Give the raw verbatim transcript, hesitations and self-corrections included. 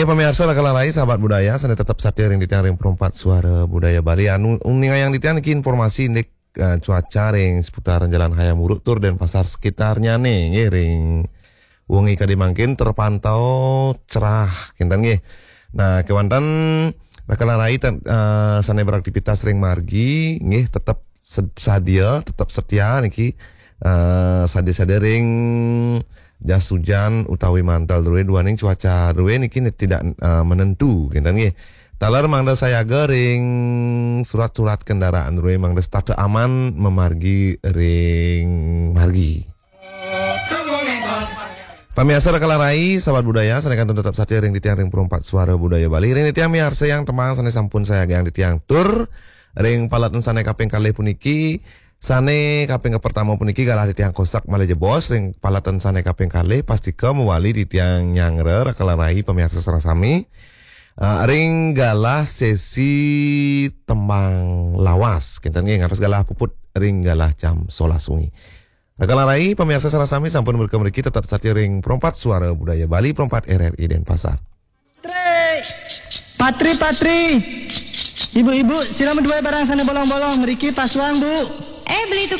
Pamiarsa Raka lan Rai, sahabat budaya, sané tetep satia ring titiang ring Perempat Suara Budaya Bali. Anu, uning ayang titiang niki informasi indik, eh, cuaca ring seputaran Jalan Hayam Wuruk tur Denpasar sekitarnyané, nggih, ring wengi kadi mangkin terpantau cerah, kinten nggih. Nah, kéwanten Raka lan Rai ten-, eh, sané beraktivitas ring margi, nggih, tetep sed-, sadia, tetep setia niki, eh, sadia-sadia ring jas hujan utawi mantel drué, duaning cuaca drué niki ne-, tidak, eh, menentu, kinten nggih. Taler mangda sayaga ring surat-surat kendaraan drué, mangda setata aman mamargi ring margi. Pamiarsa Raka lan Rai, sahabat budaya, sané kantun tetep satia ring titiang ring Perempat Suara Budaya Bali. Ring titiang miarsayang tembang sané sampun sayagayang titiang tur ring paletan sané kaping kalih puniki, sané kaping kapertama puniki galah titiang kosak malih jebos, ring paletan sané kaping kalih pastika mawali titiang nyanggra Raka lan Rai pamiarsa sareng sami. Ah, ring galah sesi tembang lawas, kinten nggih, ngantos galah puput ring galah jam solas wengi. Raka lan Rai, pamiarsa sareng sami sampun mrika mriki tetep satia ring Perempat Suara Budaya Bali, Perempat R R I Denpasar. Patri, patri, patri. Ibu-ibu, sira madué barang sané bolong-bolong, mriki pasuang, Bu. Eh, beli itu